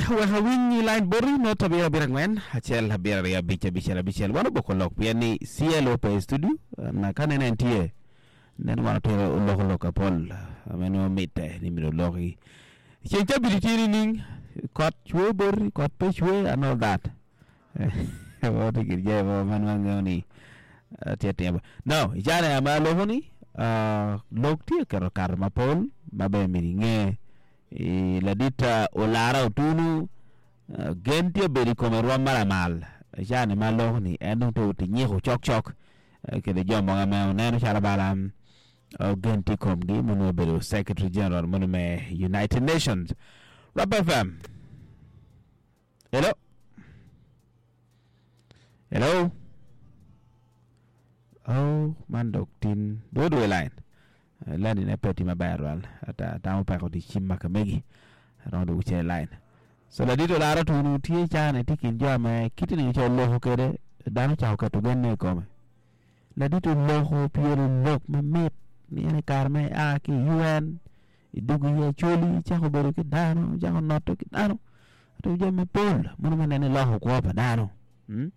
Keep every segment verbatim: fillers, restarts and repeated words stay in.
Wek awiny line boti not abiro abiro angwen acel abiro aryo abic abicel abicel wan oboko lok pien ni C L O pe i studio na ka nene en tye nen wan otero oloko lok apol ame nongo mitte ni myero oloki ceng cabit tye nining kot cwe boti kot pe cwe and all that. Tye gin jami mogo ma nongo angeyo ni tye atima. Now i caa ma aloko ni lok tye keto kato mapol ma bene myero inge. Ladit Olara Otunu gen tye obedo i kome rwom ma lamal i caa-ni ma aloko ni en dong tye oti nyiko cokcok kede jo mogo ame oneno calo bala gen tye i komgi ma nongo obedo Secretary General moni me United Nations. Rwap F M. Hello. Hello. Oh, man dok tin dong odwogo i line. Line ne pe tye maber twal. Ata atamo peko tye cim ma ka megi. Romo dwogo cen i line. So ladit Olara Otunu tye caa-ni tye i kin jo ame kite ni oca oloko kwede dano ocako keto genne i kome. Ladit oloko pyelo lok mamit ni en i kare ma ea ki i U N idwogo i Acholi icako bedo ki dano icako note ki dano otimo jami mapol mono ma nene loko kwo pa dano mm?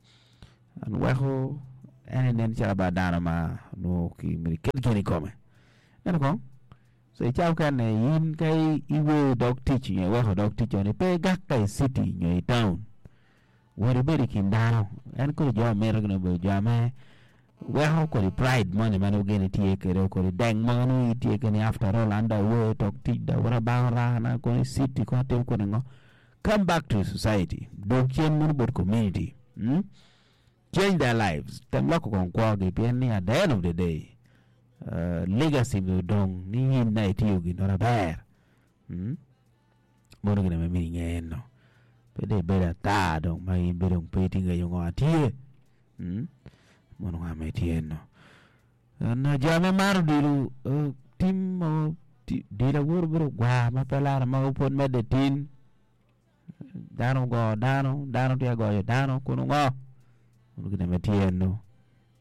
An weko en nen calo ba dano ma nongo ki myero iket gen i kome. Ento kong so i cawa mukene in ka iweyo dog tic nyo iweko dog tic ni pe igak ka i city nyo i town wot ibed i kin dano. En kodi jo mito gin obedo jo ame weko kodi pride moni ma nongo gin tye kwede, kodi deng mo nongo itye kwede ni after all an dong aweyo dog tic dong awoto abango rana kono i city kono atimo kodi ngo. Come back to society, dog cen mono bot community, mm? Change their lives, tem loko kong kwogi pien ni at the end of the day uh, legacy myero odong ni in na itiyo gin maber, mm? Mono gin ame myero inge eno pe dong ibedo ata dong ma in be dong pe itye ngeyo ngo atye, mm? Mono ngo ame tye eno. Jo ame maro odilo uh, tim mogo dilo awoto bedo gwar ma pe laro mogo pwod medde tin dano ogo dano dano tye ka goyo dano kun ongo mono gin ame tye eno.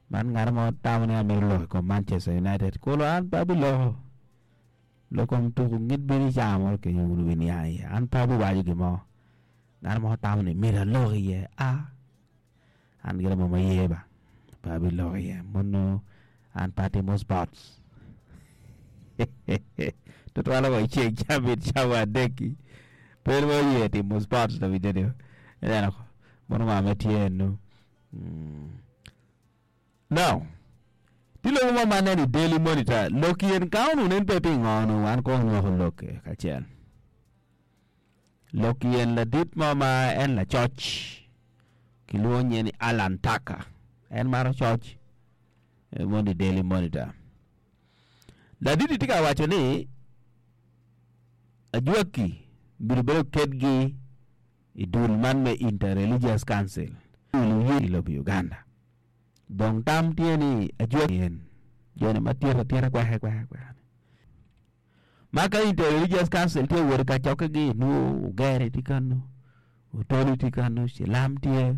Man ngat mo tamo ni amito lok i kom Manchester United kulu an pe abiloko lok kom tuko ngit bino i cawa mo kenyo wun wubiniang iye an pe abiwaco gin mo. Ngat mo tamo ni myero alok iye a an gire mo ma ye ba pe abiloko iye mono an pe atimo sports tutwale wa i ceng cabit cawa adek-ki pe nongo aye timo sports lawinyo ineno mono ngo ma tye eno. Now tye lobo mo ma aneno i Daily Monitor lok yen ka onongo nen pe pingo onongo wan kong wanywako lok kacel. Lok yen ladit mo ma en lacoc kilwongo nyinge ni Allan Tucker en maro coc mono i Daily Monitor. Ladit-ti tye ka waco ni ajwaki myero bene oketgi i dul man me Inter-Religious Council i lobo Uganda. Dong tam tye ni ajwaki en joni ma tito atita kweke kweke kweke-ni. Ma ka Inter-Religious Council tye wot i kacokkegi nongo Ugere tye kanu, Otoli tye kanu, Cilam tye,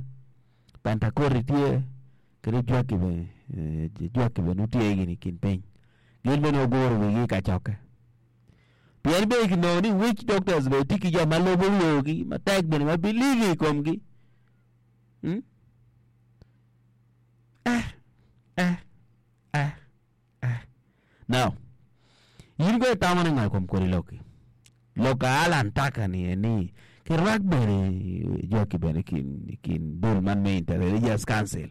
Pentakoti tye kadi Ojwaki bene Ojwaki bene nongo tye gini i kin piny. Gin bene guguro wigi i kacokke. Pien bene kinongo ni witch doctors bene tye ki jo ma lubo yogi matek bene ma believe i komgi. Hmm? Eh, eh, eh. Eh. Now, in kono itamo ni ngo i kom kodi lok-ki? Lok a Allan Tucker ni eni kirwak bene jwaki bene i kin dul man me Inter-Religious Council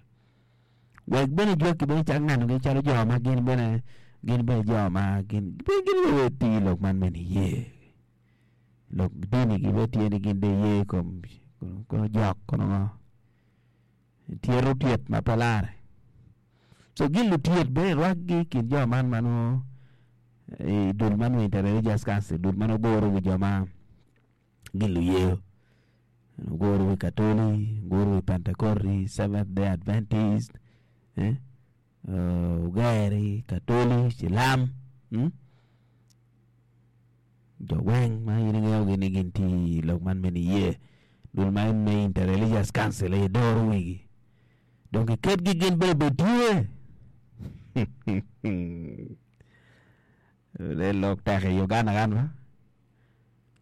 wek bene jwaki bene cak nenogi calo jo ma gin bene gin bene jo ma gin gin bene tye i lok man me niye lok dinigi bene tye ni gin dong giye i kom kono jok kono ngo tyeto tyet ma pe larre. So gin lutyet bene rwakgi i kin jo man ma nongo i dul man me Inter-Religious Council, dul ma nongo guro wi jo ma gin luyeyo. Guro wi Katoli, guro wi Pentekoti, Seventh Day Adventist, eh, Ugeri, Katoli, Cilam, mm? Jo weng ma in ingeyogi ni gin tye i lok man me niye, dul ma en me Inter-Religious Council aye doro wigi. Dong kiketgi gin bene obed tye. Lok tek i Uganda kan ba.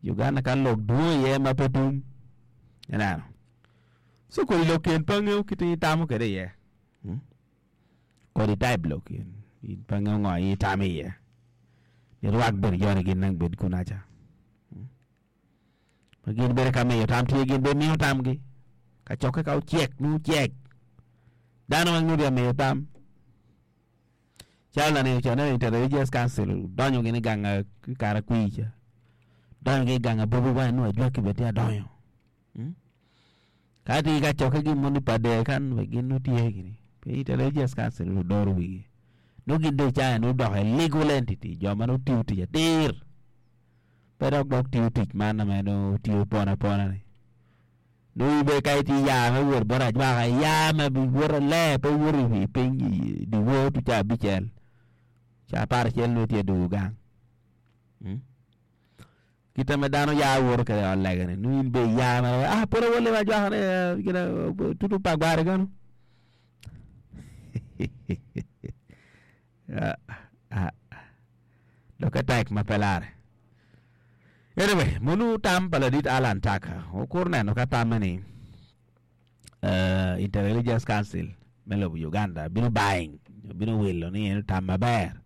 Uganda kan lok dwong iye ma pe tum. Ineno so kodi lok ken pe angeyo kit ma itamo kwede iye hmm? Kodi type lok ken in pe angeyo ngo aye itamo iye ni rwak bene joni gin nang bed kunaca hmm? Ma gin bedo ka miyo tam tye gin bene miyo tamgi kacokke ka ocek nongo ocek dano weng nongo tye ka miyo tam calo laneno ca neno Inter-Religious Council odonyo gin i gang karakwir ca donyo ki i gang a Bobi Wine nongo ajwaki bene tye adonyo hmm? Ka tye ka cokke gin moni pa der kan wek gin nongo tye gini pi Inter-Religious Council odoro wigi nongo gin dong i cawa eni odoko i legal entity jo ma nongo tiyo tic atir pe dok dok tiyo tic man ma nongo tiyo pon apona ni nongo in bene ka itye ya me wot bot ajwaka iya me iwoto ler pe iwoto i piny i dyewor tung ca abicel ca apar acel nongo itye dwogo gang hmm? Kite ma dano ya woto kwede i ot lega-ni nongo in bene iya mere ah pud awot limo ajwaka ni gin tutu pa gwari keno lokke tek ma pe lare. Anyway, munu tam pa ladit Allan Tucker wukur neno ka tamme ni uh, Inter-Religious Council me lobo Uganda bino buying nyo bino wilo ni en tam maber.